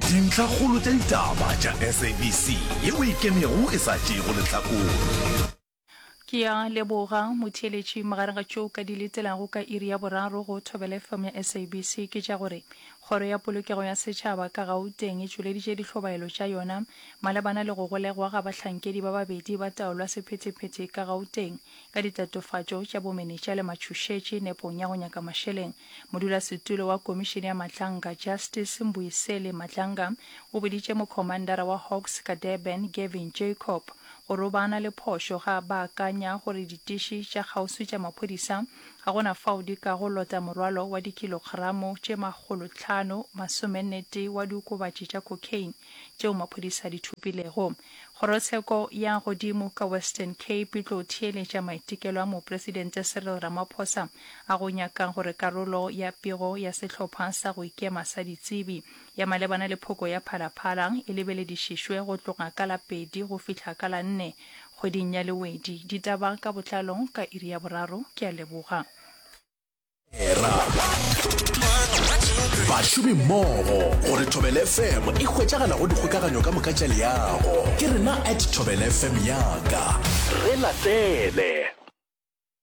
Dintlhakgolo tša ditaba tša SABC yeo e ikemego e sa tšeego lehlakore. Ke a leboga motheeletši. Magareng ga tšeo ka di letelago ka iri ya boraro go Thobela FM ya SABC ke tša gore Kgoro ya Polokego ya Setšhaba ka Gauteng e tšweleditše dihlobaelo tša yona malebana le go golegwa ga bahlankedi ba babedi ba taolo ya sephethephethe ka Gauteng ka ditatofatšo tša bomenetša le matšhošetši nepong ya go nyaka mašeleng. Modulasetulo wa Komišene ya Matlanga, Justice Mbuyiseli Madlanga, o boditše mokhomandara wa Hawks ka Durban, Gavin Jacob, gore o ba na le phošo ge a baakanya gore ditiši tša kgauswi tša maphodisa ga go na fao di kago lota morwalo wa dikilogramo tše makgolotlhano masomennetee wa diokobatši tša cocaine tšeo maphodisa a di thopilego. Kgorotsheko ya godimo ka Western Cape e tlo theeletša maitekelo a Mopresidente Cyril Ramaphosa a go nyaka gore karolo ya pego ya sehlopha sa go ikema sa ditsebi ya malebana le phoko ya Phala-Phala e lebeledišišwe go tloga ka la pedi go fihla ka la nne kgweding ya Lewedi. Ditaba ka botlalo ka iri ya boraro. Ke a leboga. Era. Bašomi mmogo gore Thobela FM e hwetšagala go dikgokaganyo ka moka tša leago. Ke rena at Thobela FM yaka. Re latele.